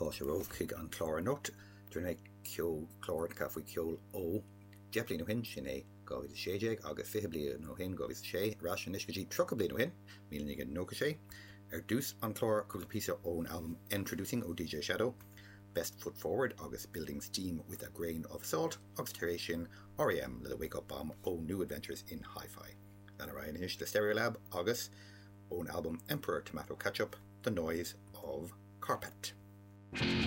Fáilte romhaibh chuig an chlár anocht. Déanfaidh mé ceolchlár faoi cheol ó 10 bliain ó shin, sin é 2016, agus 20 bliain ó shin, 2006, ar ais anois go dtí 30 bliain ó shin, 1996. Ar dtús an chlár, cúpla píosa ón albam Endtroducing ó DJ Shadow, Best Foot Forward agus Building Steam with a Grain of Salt, agus tar éis sin R.E.M. le The Wake Up Bomb ó New Adventures in Hi-Fi. Lean ar aghaidh anois le Stereolab agus ón albam Emperor Tomato Ketchup, The Noise of Carpet.